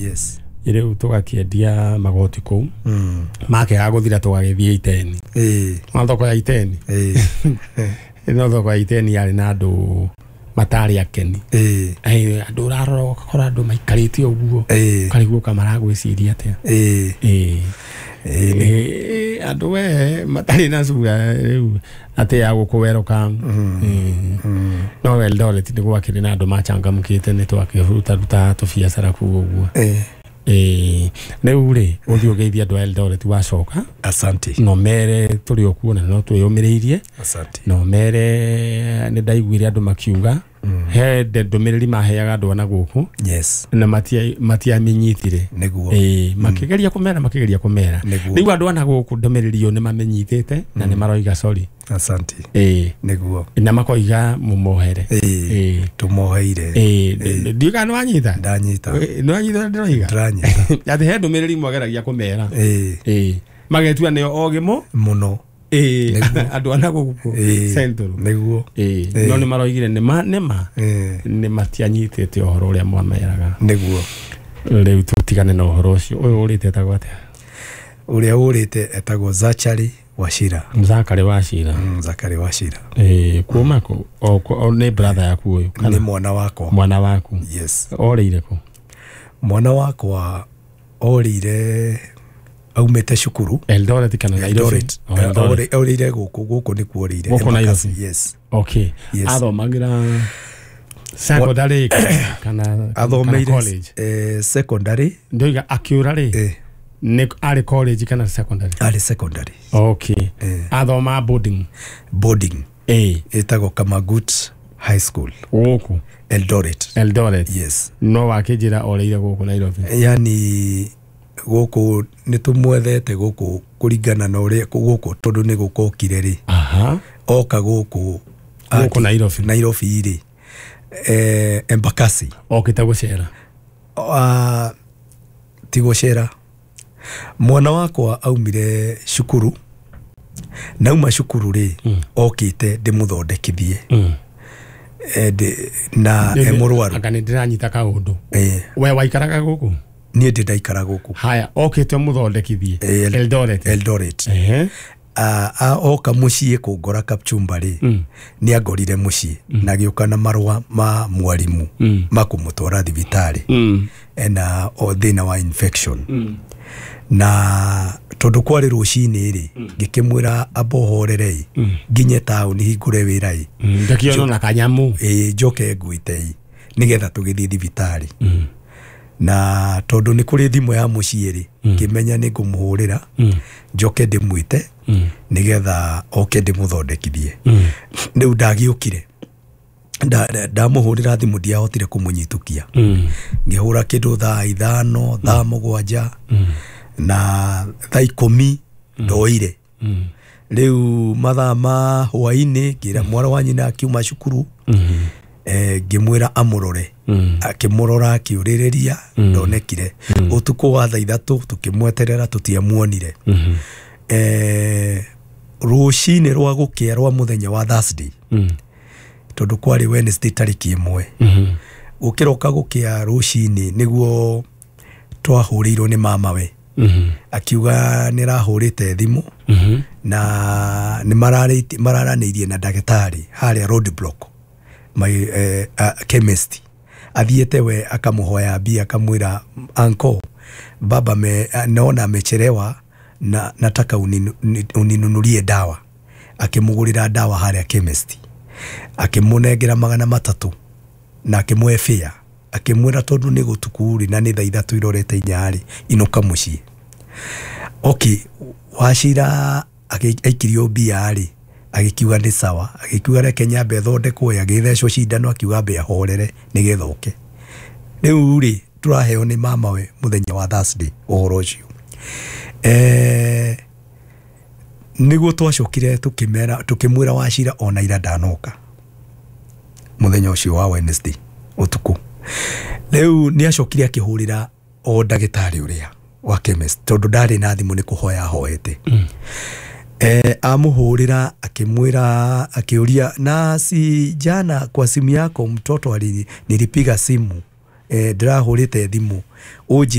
Yes. Rĩu tũgakĩendia magoti kũu, makĩaga gũthira tũgagĩthiĩ Iteni. No thoko ya Iteni, no thoko ya Iteni yarĩ na andũ matarĩ akeni. Andũ ũrarora ũgakora andũ maikarĩte ũguo, ũkarigwo ka maragwĩciria atĩa. Andũ we matarĩ na cura rĩu atĩ ya gũkũ welcome. No Eldoret nĩ gwakĩrĩ na andũ machangamkĩte, nĩ twakĩrutaruta tũbiacara kũu ũguo. Rĩu rĩ, ũthiĩ ũgeithie andũ a Eldoret wacoka. Asante. No mere tũrĩ o kuo na no twĩyũmĩrĩirie. Asante. No mere nĩ ndaiguire andũ makiuga he ndũmĩrĩri maheaga andũ ana gũkũ na matiamenyitire. Nĩguo. Makĩgeria kũmera, makĩgeria kũmera. Nĩguo. Rĩu andũ ana gũkũ ndũmĩrĩri ĩyo nĩ mamĩnyitĩte na nĩ maroiga sorry. Asante. Nĩguo. Na makoiga mũmohere. Tũmoheire. Ndiũĩ kana nĩ wanyita. Ndanyita. Nĩ wanyita ũrĩa ndĩroiga? Ndĩranyita. Atĩ he ndũmĩrĩri mwageragia kũmera. Magetua nĩo ogĩ mũ Mũno. Andũ ana gũkũ Central. Nĩguo. No nĩ maroigire nĩma nĩma nĩ matianyitĩte ũhoro ũrĩa mwameraga. Nĩguo. Rĩu tũtigane na ũhoro ũcio. Ũyũ ũrĩte etagwo atĩa? Ũrĩa ũrĩte etagwo Zachary Wachira. Zachary Wachira. Zachary Wachira. Kuma kũ? O nĩ brother yaku ũyũ? Nĩ mwana wakwa. Mwana waku. Yes. Orĩire kũ? Mwana wakwa orĩire aumĩte cukuru. Eldoret kana Nairobi? Eldoret. Oh, Eldoret. Orĩire gũkũ, gũkũ nĩkuo orĩire. Gũkũ Embakasi. Nairobi. Yes. Okay. Yes. Athomagĩra secondary kana Athomeire college? Secondary. Ndoiga akĩũra rĩ, nĩ arĩ college kana secondary? Arĩ secondary. Okay. Athoma boarding. Boarding. Ĩtagwo Kamagut High School. Gũkũ Eldoret. Eldoret. Yes. No wakĩnjĩra orĩire gũkũ Nairobi. Yani gũkũ nĩ tũmwethete gũkũ kũringana na ũrĩa gũkũ tondũ nĩ gũkokire rĩ. Oka gũkũ Gũkũ Nairobi. Nairobi rĩ. Embakasi. Okĩte gũcera. Ti gũcera. Mwana wakwa aumire cukuru. Nauma cukuru rĩ, okĩte ndĩmũthondekithie. Na e mũrwaru. Anga nĩ ndĩranyita kaũndũ. We waikaraga gũkũ? Niĩ ndĩ ndaikara gũkũ. Haya, okĩte ũmũthondekithie. Eldoret. Eldoret. Oka mũciĩ kũngora Kapchumba rĩ, nĩ angorire mũciĩ na agĩũka na marũa ma mwarimũ ma kũmũtwara thibitarĩ. Ena o thĩna wa infection. Na tondũ kwarĩ rũcinĩ rĩ, ngĩkĩmwĩra amba ũhorere ĩ, nginye taũni hingũre wĩra ĩ. Ndakĩona na kanyamũ. Njoke ngwĩte ĩ, nĩgetha tũgĩthiĩ thibitarĩ. Na tondũ nĩ kũrĩ thimũ ya mũciĩ rĩ, ngĩmenya nĩ ngũmũhũrĩra, njoke ndĩmwĩte, nĩgetha oke ndĩmũthondekithie. Rĩu ndagĩũkire. Ndamũhũrĩra thimũ ndiahotire kũmũnyitũkia. Ngĩhũra kĩndũ thaa 5, thaa 7, na thaa 10 ndoire. Rĩu mathaa ma hwaĩ-inĩ ngĩra mwana wa nyina akiuma cukuru, ngĩmwĩra amũrore. Akĩmũrora akĩũrĩrĩria, ndonekire. Ũtukũ wa thaa 3 tũkĩmweterera tũtiamuonire. Rũcinĩ rwa gũkĩa rwa mũthenya wa Thursday, tondũ kwarĩ Wednesday tarĩki 1, gũkĩroka gũkĩa rũcinĩ nĩguo twahũrĩirwo nĩ mamawe. Akiuga nĩ arahũrĩte thimũ, na nĩ mararanĩirie na ndagĩtarĩ harĩa road block, chemist. Athiĩte we akamũhoya mbia akamwĩra uncle, baba naona amechelewa na nataka uninunulie dawa. Akĩmũgũrĩra dawa harĩa chemist. Akĩmũnengera 300 na akĩmũhe fare. Akĩmwĩra tondũ nĩ gũtukũ rĩ na nĩ thaa 3 irorete 4 rĩ, inũka mũciĩ. Okay, Wachira aikirio mbia rĩ, agĩkiuga nĩ sawa, agĩkiuga reke nyambe thondekwo, agĩthecwo cindano, akiuga ambe ahorere nĩgetha oke. Rĩu rĩ, tũraheo nĩ mamawe mũthenya wa Thursday ũhoro ũcio. Nĩguo twacokire tũkĩmwĩra Wachira ona ira ndanoka mũthenya ũcio wa Wednesday ũtukũ. Rĩu nĩ acokire akĩhũrĩra o ndagĩtarĩ ũrĩa wa chemist tondũ ndarĩ na thimũ nĩ kũhoya ahoete. Amũhũrĩra akĩmwĩra, akĩũria na si jana kwa simu yako mtoto nilipiga simu Ndĩrahũrĩte thimũ ũnjĩre.